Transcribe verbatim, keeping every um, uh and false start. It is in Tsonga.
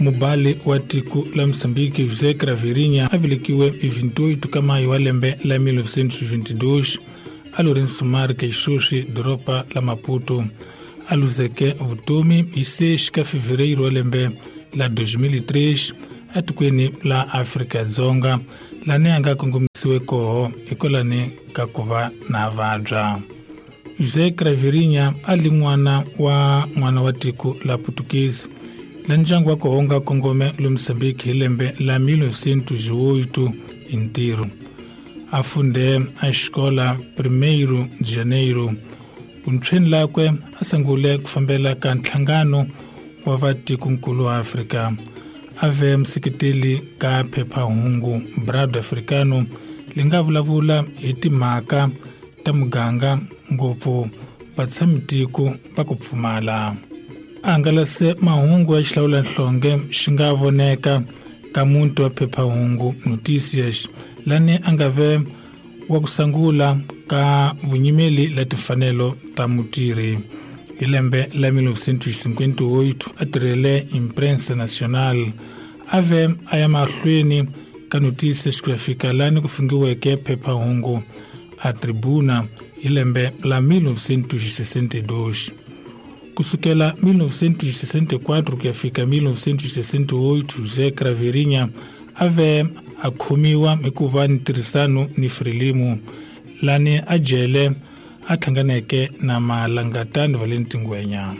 Mubali wa tiko la Moçambique José Craveirinha a velekiwe hi vinte e oito ka maio wa lembe la mil novecentos e vinte e dois a Lourenço Marques, sweswi doroba la Maputo. A luzeke vutomi hi seis ka fevereiro wa lembe la dois mil e três etikweni la Afrika-Dzonga, lani a nga kongomisiwe koho hikwalani ka ku va na vabya. José Craveirinha a li n'wana wa n'wana wa tiko la Portuguese, la ndyangu wa koho wu nga kongome le Mozambique hi lembe la mil novecentos e oito hi ntirho. A funde a xikola Primeiro de Janeiro. Vuntshweni lakwe a sungule ku fambela ka nhlangano wa vatikonkulu wa Afrika. A ve museketeli ka phephahungu Brado Africano, li nga vulavula hi timhaka ta muganga, ngopfu vatshamitiko va ku pfumala. A hangalase mahungu ya xihlawulanhlonge xi nga voneka ka muti wa phephahungu Noticias, lani a nga ve wa ku sungula ka vunyimeli la timfanelo ta mutirhi. Hi lembe la mil novecentos e cinquenta e oito a tirhele Imprensa Nacional. A ve a ya mahlweni ka Noticias ku ya fika lani ku fungiweke phephahungu a Tribuna hi lembe la mil novecentos e sessenta e dois. Kusukela mil novecentos e sessenta e quatro ku ya fika mil novecentos e sessenta e oito, José Craveirinha a ve a khomiwa hi ku va ni ntirhisano ni Frelimo, lani a jele a hlanganeke na Malangatani Valenti Ngwenya.